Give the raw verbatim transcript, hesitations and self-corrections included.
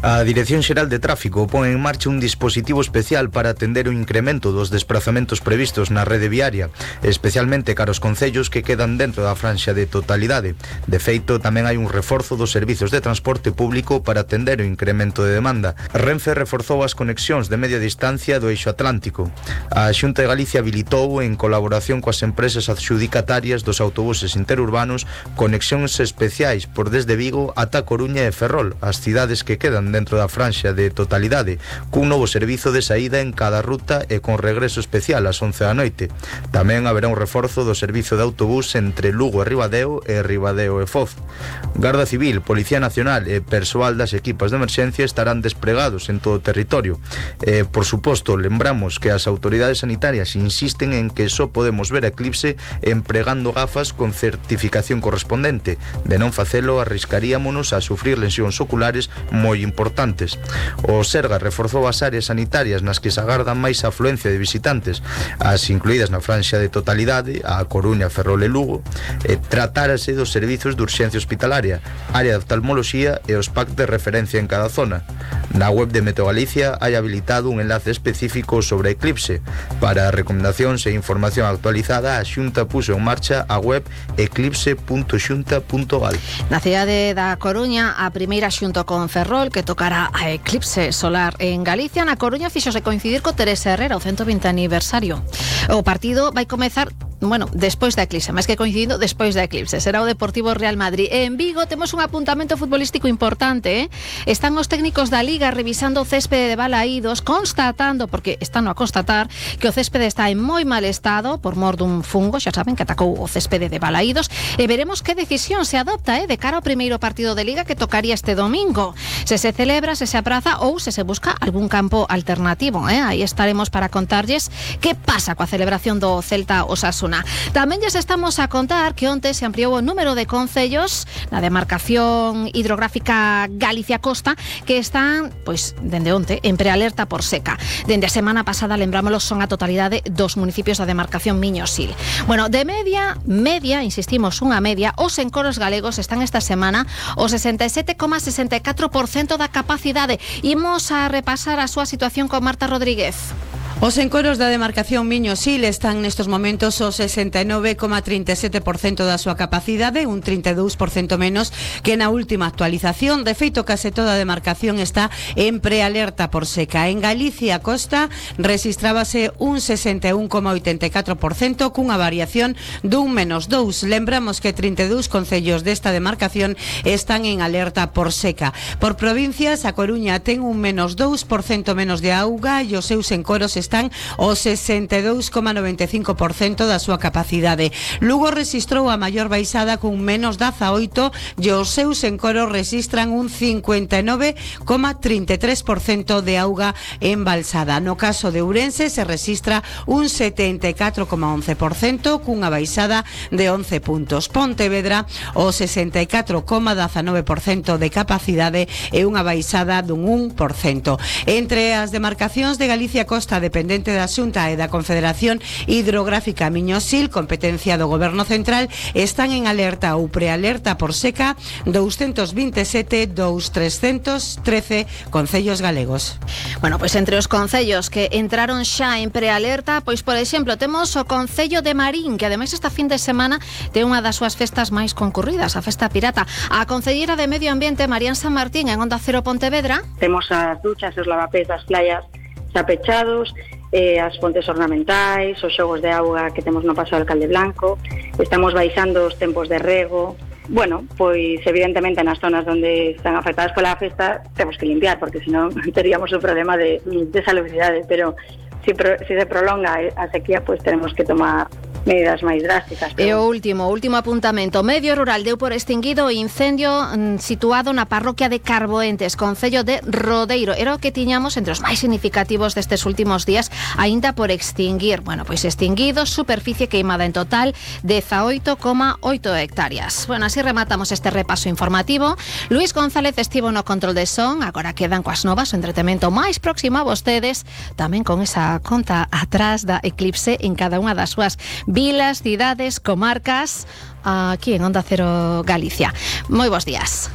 A Dirección Xeral de Tráfico pon en marcha un dispositivo especial para atender o incremento dos desprazamentos previstos na rede viaria, especialmente cara aos concellos que quedan dentro da franxa de totalidade. De feito, tamén hai un reforzo dos servizos de transporte público para atender o incremento de demanda. Renfe reforzou as conexións de media distancia do eixo atlántico. A Xunta de Galicia habilitou, en colaboración coas empresas adxudicatarias dos autobuses interurbanos, conexións especiais por desde Vigo ata Coruña e Ferrol, as cidades que quedan dentro da franxa de totalidade, cun novo servizo de saída en cada ruta e con regreso especial ás once da noite. Tamén haberá un reforzo do servizo de autobús entre Lugo e Ribadeo e Ribadeo e Foz. Garda Civil, Policía Nacional e persoal das equipas de emerxencia estarán despregados en todo o territorio. E, por suposto, lembramos que as autoridades sanitarias insisten en que só podemos ver eclipse empregando gafas con certificación correspondente. De non facelo, arriscaríamonos a sufrir lesións oculares moi importantes. importantes. O Serga reforzou as áreas sanitarias nas que se agardan máis afluencia de visitantes, as incluídas na franxa de totalidade, a Coruña, Ferrol e Lugo, e tratárase dos servizos de urxencia hospitalaria, área de oftalmoloxía e os packs de referencia en cada zona. Na web de Meteo Galicia hai habilitado un enlace específico sobre eclipse. Para recomendacións e información actualizada, a Xunta puso en marcha a web eclipse punto xunta punto gal. Na cidade da Coruña, a primeira xunto con Ferrol, que tocará a eclipse solar en Galicia. Na Coruña fixose coincidir co Teresa Herrera, o ciento vinte aniversario. O partido vai comezar, bueno, despois da eclipse, máis que coincidindo, despois da eclipse. Será o Deportivo Real Madrid. E en Vigo temos un apuntamento futbolístico importante, eh? Están os técnicos da Liga revisando o céspede de Balaídos, constatando, porque están a constatar, que o céspede está en moi mal estado por mor dun fungo, xa saben, que atacou o céspede de Balaídos, e veremos que decisión se adopta, eh, de cara ao primeiro partido de Liga que tocaría este domingo. Se se celebra, se se apraza ou se se busca algún campo alternativo, eh? Aí estaremos para contarlles que pasa coa celebración do Celta Osasuna. Tamén lles estamos a contar que onte se ampliou o número de concellos na demarcación hidrográfica Galicia Costa que están, pois, dende onte, en prealerta por seca. Dende a semana pasada, lembrámoslo, son a totalidade dos municipios da demarcación Miño-Sil. Bueno, de media, media, insistimos, unha media, os encoros galegos están esta semana o sesenta e sete coma sesenta e catro por cento da capacidade. Imos a repasar a súa situación con Marta Rodríguez. Os encoros da demarcación Miño-Sil están nestes momentos o sesenta e nove coma trinta e sete por cento da súa capacidade, un trinta e dous por cento menos que na última actualización. De feito, case toda a demarcación está en prealerta por seca. En Galicia Costa rexistrábase un sesenta e un coma oitenta e catro por cento cunha variación dun menos dous. Lembramos que trinta e dous concellos desta demarcación están en alerta por seca. Por provincias, a Coruña ten un menos dous por cento menos de auga e os seus encoros están o sesenta e dous coma noventa e cinco por cento da súa capacidade. Lugo rexistrou a maior baixada cun menos dezaoito e os seus encoros rexistran un cincuenta e nove coma trinta e tres por cento de auga embalsada. No caso de Ourense se rexistra un setenta e catro coma once por cento cunha baixada de once puntos. Pontevedra o sesenta e catro coma dezanove por cento de capacidade e unha baixada dun un por cento. Entre as demarcacións de Galicia Costa dependente da Xunta e da Confederación Hidrográfica Miño-Sil, competencia do Goberno Central, están en alerta ou prealerta por seca doscientos vinte e sete dos trescentos trece concellos galegos. Bueno, pois entre os concellos que entraron xa en prealerta, pois por exemplo, temos o Concello de Marín, que ademais esta fin de semana ten unha das súas festas máis concurridas, a Festa Pirata. A concelleira de Medio Ambiente, Marían San Martín, en Onda Cero Pontevedra. Temos as duchas e os lavapés das playas xa pechados, eh, as fontes ornamentais, os xogos de auga que temos no Paso do Alcalde Blanco, estamos baixando os tempos de rego. Bueno, pois evidentemente nas zonas onde están afectadas pola festa temos que limpiar, porque senón teríamos un problema de, de salubridade, pero si, pro, si se prolonga a sequía, pois tenemos que tomar medidas máis drásticas. Pero... E o último, último apuntamento. Medio Rural deu por extinguido o incendio mm, situado na parroquia de Carboentes, concello de Rodeiro. Era o que tiñamos entre os máis significativos destes últimos días, aínda por extinguir. Bueno, pois extinguido, superficie queimada en total dezaoito coma oito hectáreas. Bueno, así rematamos este repaso informativo. Luís González estivo no control de son, agora quedan coas novas o entretemento máis próximo a vostedes, tamén con esa conta atrás da eclipse en cada unha das súas vilas, cidades, comarcas, aquí en Onda Cero Galicia. Moi bons días.